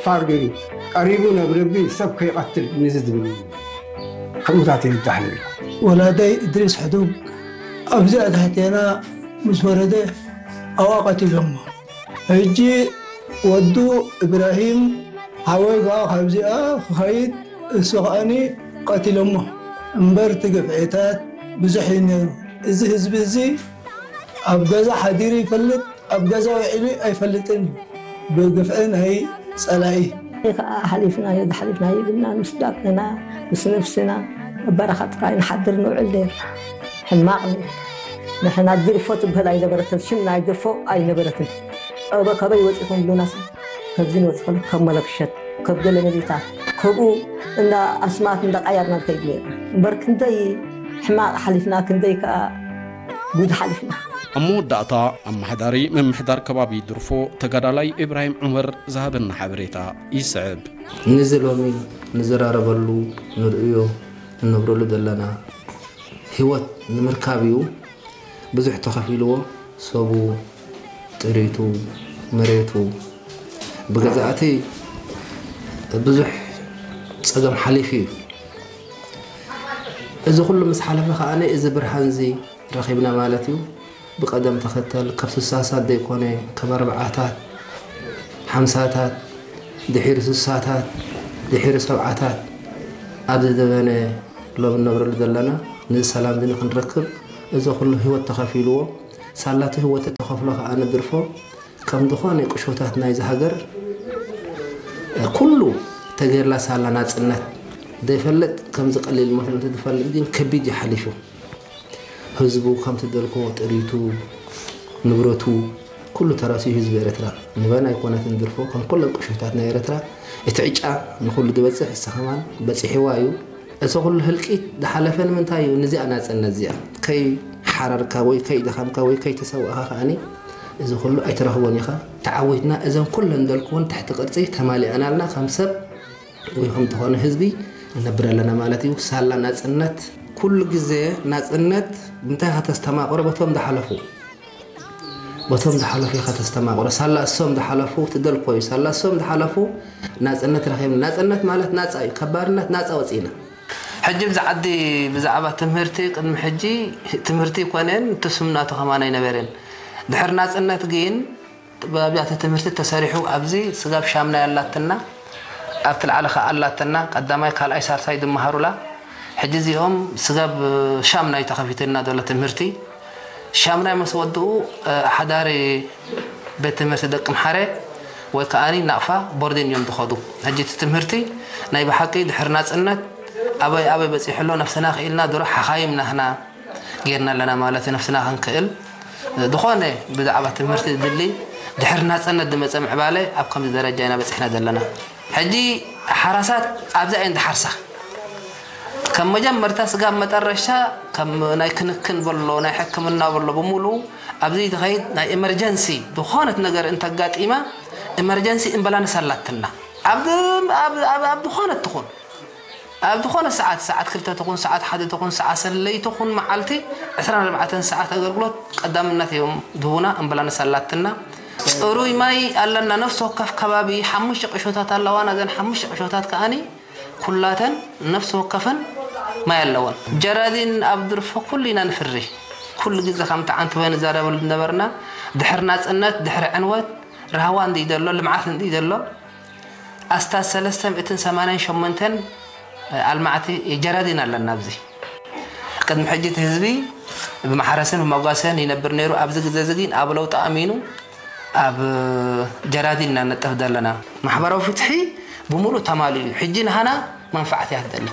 ፋር ገይሩ ቀሪቡ ናብ ረቢ ሰብ ከይቐትል ነዚ ዝብል እዩ። ከምኡታት ይብዳሕ ነይሩ። ወላደይ እድሪስ ሕዱግ ኣብዚኣ ትሕቴና ምስ ወረደ ኣብኣ ቀቲሎሞ። ሕጂ ወዱ እብራሂም ሓወይ ከኣ ካብዚኣ ክኸይድ እሱ ከኣኒ ቀቲሎሞ። እምበር እቲ ግፍዒታት ብዙሕ እዩ ነይሩ። እዚ ህዝቢ እዚ ኣብ ገዛ ሓዲሩ ይፈልጥ፣ ኣብ ገዛ ውዒሉ ኣይፈልጥን እዩ። ብግፍዒ ናይ ጸላኢ። ከኣ ሓሊፍናዮ፣ ሓሊፍናዮ ኢልና ምስ ዳቅና፣ ምስ ነፍስና ኣብ በረኻ ጥራይ ንሓድር ንውዕል ነይርና። ሕማቕ ነይሩ። ንሕና ድርፎ ትበሃል ኣይነበረትን፣ ሽም ናይ ድርፎ ኣይነበረትን። ኣበ-፣ ካበይ ወጺኹም ብሉናስ፣ ካብዚ ንወጽኹም፣ ካብ መለክሸት፣ ካብ ገለ መሬታት፣ ካብኡ እንዳ ኣስማት እንዳ ቀያርና ንኸይድ ነይርና። እምበር ክንደይ ሕማቕ ሓሊፍና፣ ክንደይ ከኣ ጉድ ሓሊፍና። ኣብ መወዳእታ፣ ኣመሓዳሪ ምምሕዳር ከባቢ ድርፎ፣ ተጋዳላይ ኢብራሂም ዑመር ዝሃበና ሓበሬታ ይስዕብ። ንዚ ሎሚ ንዘራረበሉ፣ ንርእዮ፣ እንነብረሉ ዘለና ህይወት ንምርካብ እዩ ብዙሕ ተኸፊልዎ። ሰቡ፣ ጥሪቱ፣ መሬቱ፣ ብገዛእቲ ብዙሕ ጸገም ሓሊፉ እዩ። እዚ ኩሉ ምስ ሓለፈ ከኣ እዚ ብርሃን እዚ ረኺብና ማለት እዩ። ብቐደም ተኸተል ካብ ስሳሳት ዘይኮነ፣ ካብ ኣርብዓታት፣ ሓምሳታት፣ ድሒሩ ስሳታት፣ ድሒሩ ሰብዓታት ኣብ ዝደበነ ሎም እንነብረሉ ዘለና፣ ነዚ ሰላም እዚ ንክንረክብ እዚ ኩሉ ህይወት ተኸፊልዎ። ሳላቲ ህይወት ተኸፍሎ ከኣ ንድርፎ ከም ዝኾነ ቁሾታት ናይዚ ሃገር ኩሉ ተገይርላ ሳላ ናጽነት ዘይፈልጥ ከምዚ ቀሊል መስሎ እንተዝፈልጥ ግን ከቢድ እዩ ሓሊፉ። ህዝቡ ከምቲ ደልኮ ጥሪቱ፣ ንብረቱ፣ ኩሉ ተረሲኡ ህዝቢ ኤርትራ። ንበና ኣይኮነትን ድርፎ፣ ከም ኩለን ቁሽታት ናይ ኤርትራ፣ እቲ ዕጫ ንኹሉ ዝበጽሕ እሳ ከማን በጺሕዋ እዩ። እዚ ኩሉ ህልቂት ዝሓለፈ ንምንታይ እዩ? ንዚኣ ናጽነት እዚኣ። ከይሓረርካ ወይ ከይደኸምካ ወይ ከይተሰዋእካ ከኣኒ፣ እዚ ኩሉ ኣይትረኽቦን ኢኻ። ተዓዊትና እዘን ኩለን ደልኩውን ትሕቲ ቅርጺ ተማሊኣናልና ከም ሰብ ወይ ከም ዝኾነ ህዝቢ ንነብር ኣለና ማለት እዩ። ሳላ ናጽነት። ኩሉ ግዜ ናጽነት ብምንታይ ኢኻ ተስተማቕሮ? በቶም ዝሓለፉ። በቶም ዝሓለፉ ኢኻ ተስተማቕሮ። ሳላ እሶም ዝሓለፉ ትደልኮ እዩ። ሳላ እሶም ዝሓለፉ ናጽነት ረኺብና። ናጽነት ማለት ናጻ እዩ። ካብ ባርነት ናጻ ወጺእና። ሕጂ ብዛ ዓዲ ብዛዕባ ትምህርቲ ቅድሚ ሕጂ ትምህርቲ ይኮነን እቲ ስም ናቱ ከማን ኣይነበረን። ድሕሪ ናጽነት ግን ብኣብያተ ትምህርቲ ተሰሪሑ ኣብዚ ስጋብ ሻምናይ ኣላትና፣ ኣብቲ ላዕሊ ከኣ ኣላትና፣ ቀዳማይ፣ ካልኣይ፣ ሳልሳይ ዝመሃሩላ። ሕጂ እዚኦም ስጋብ ሻምናይ ተኸፊቱልና ዘሎ ትምህርቲ። ሻምናይ ምስ ወድኡ፣ እ፣ ሓዳሪ ቤት ትምህርቲ ደቂ ምሓረ ወይ ከኣኒ ናቕፋ ቦርዲን እዮም ዝኸዱ። ሕጂ እቲ ትምህርቲ ናይ ብሓቂ ድሕሪ ናጽነት ኣበይ ኣበይ በጺሑ ኣሎ ነፍስና ክኢልና ድሮ ሓኻይም ናህና ጌርና ኣለና ማለት እዩ። ነፍስና ክንክእል ዝኾነ ብዛዕባ ትምህርቲ ዝድሊ ድሕሪ ናጽነት ዝመጸ ምዕባለ ኣብ ከምዚ ደረጃ ኢና በጺሕና ዘለና። ሕጂ ሓራሳት ኣብዚ ኣየን ዝሓርሳ ከም መጀመርታ ስጋብ መጠረሻ ከም ናይ ክንክን በሎ ናይ ሕክምና በሎ ብምሉኡ ኣብዚ ዝኸይድ ናይ ኤመርጀንሲ ዝኾነት ነገር እንተጋጢማ ኤመርጀንሲ እምበላንስ ኣላትና ኣብ ኣብ ኣብ ዝኾነት ትኹን ኣብ ዝኾነ ሰዓት፣ ሰዓት ክልተ ትኹን፣ ሰዓት ሓደ ትኹን፣ ሰዓት ሰለይቲ ትኹን፣ መዓልቲ ዕስራን ኣርባዕተን ሰዓት ኣገልግሎት ቀዳምነት እዮም ዝህቡና፣ ኣምቡላንስ ኣላትና። ጽሩይ ማይ ኣለና፣ ነፍሲ ወከፍ ከባቢ ሓሙሽተ ቁሾታት ኣለዋና። እዘን ሓሙሽተ ቁሾታት ከኣኒ ኩላተን ነፍሲ ወከፈን ማይ ኣለወን። ጀራዲን ኣብ ድርፎ ኩሉ ኢና ንፍሪ። ኩሉ ግዜ ከምቲ ዓንትበ ንዛረበሉ ዝነበርና፣ ድሕሪ ናጽነት፣ ድሕሪ ዕንወት፣ ራህዋ እንድዩ ዘሎ፣ ልምዓት እንድዩ ዘሎ፣ ኣስታት ሰለስተ ሚእትን ሰማንያን ሸሞንተን ኣልማዕቲ ጀራዲን ኣለና ኣብዚ። ቅድሚ ሕጂ እቲ ህዝቢ ብማሕረስን ብመጓሰን ይነብር ነይሩ። ኣብዚ ግዜ እዚ ግን ኣብ ለውጢ ኣሚኑ ኣብ ጀራዲን ኢና ንነጥፍ ዘለና። ማሕበራዊ ፍትሒ ብምሉእ ተማሊኡ እዩ። ሕጂ ንሃና መንፋዕቲ እያ ትደሊ።